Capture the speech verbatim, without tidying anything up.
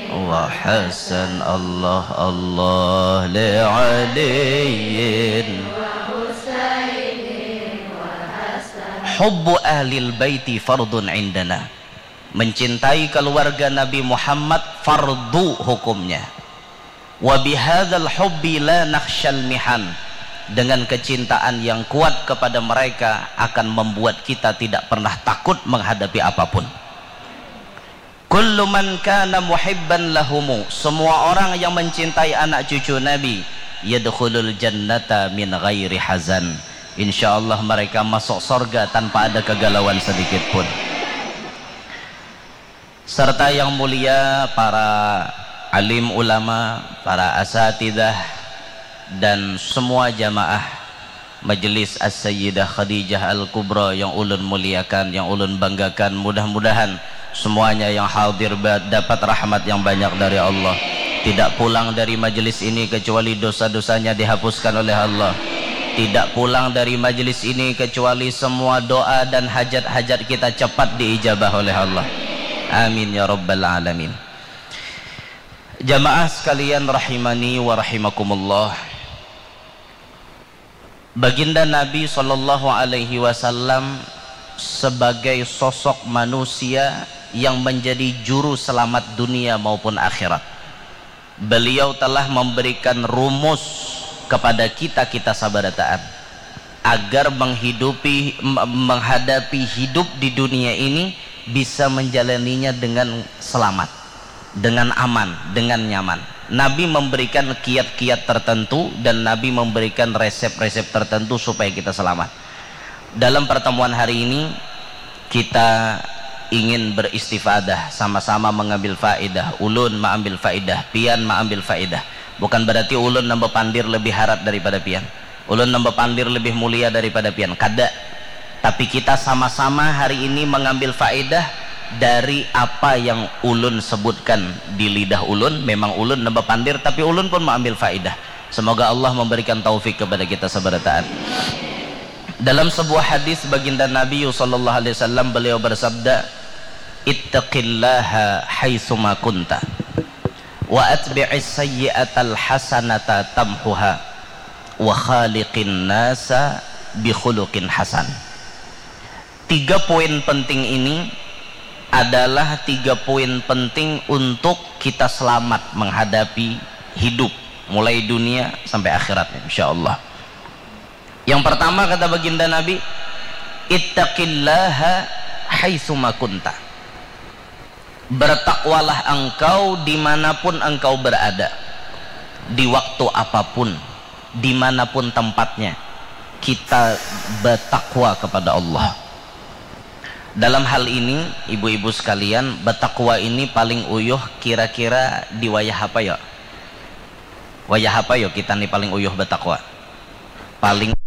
وحسن الله الله لعلي. حب أهل البيت فرض عندنا. Mencintai keluarga Nabi Muhammad fardu hukumnya. Wa bihadzal hubbi la nakhsyal mihan. Dengan kecintaan yang kuat kepada mereka akan membuat kita tidak pernah takut menghadapi apapun. Kullu man kana muhibban lahumu, semua orang yang mencintai anak cucu Nabi, yadkhulul jannata min ghairi hazan. Insya Allah mereka masuk sorga tanpa ada kegalauan sedikit pun. Serta yang mulia para alim ulama, para asatidah, dan semua jamaah Majelis As-Sayyidah Khadijah Al-Kubra yang ulun muliakan, yang ulun banggakan. Mudah-mudahan semuanya yang hadir ba-, dapat rahmat yang banyak dari Allah. Tidak pulang dari majelis ini kecuali dosa-dosanya dihapuskan oleh Allah. Tidak pulang dari majelis ini kecuali semua doa dan hajat-hajat kita cepat diijabah oleh Allah. Amin ya rabbal alamin. Jamaah sekalian rahimani wa rahimakumullah. Baginda Nabi sallallahu alaihi wasallam sebagai sosok manusia yang menjadi juru selamat dunia maupun akhirat. Beliau telah memberikan rumus kepada kita-kita sabarataan agar menghidupi, me-, menghadapi hidup di dunia ini bisa menjalaninya dengan selamat, dengan aman, dengan nyaman. Nabi memberikan kiat-kiat tertentu dan Nabi memberikan resep-resep tertentu supaya kita selamat. Dalam pertemuan hari ini, kita ingin beristifadah, sama-sama mengambil faedah. Ulun maambil faedah, pian maambil faedah. Bukan berarti ulun nang bapandir lebih harat daripada pian. Ulun nang bapandir lebih mulia daripada pian. Kada. Tapi kita sama-sama hari ini mengambil faedah dari apa yang ulun sebutkan di lidah ulun. Memang ulun nang bapandir, tapi ulun pun maambil faedah. Semoga Allah memberikan taufik kepada kita sabarataan. Dalam sebuah hadis baginda Nabi sallallahu alaihi wasallam, beliau bersabda, "Ittaqillaha haitsuma kunta, wa atbi'is sayyi'atal hasanata tamhuha, wa khaliqin nasa bi khuluqin hasan." Tiga poin penting ini adalah tiga poin penting untuk kita selamat menghadapi hidup, mulai dunia sampai akhirat, insya Allah. Yang pertama, kata baginda Nabi, "Ittaqillaha haitsuma kunta." Bertakwalah engkau dimanapun engkau berada, di waktu apapun, dimanapun tempatnya, kita bertakwa kepada Allah. Dalam hal ini, ibu-ibu sekalian, bertakwa ini paling uyuh kira-kira di wayah apa ya? Wayah apa ya kita ni paling uyuh bertakwa? Paling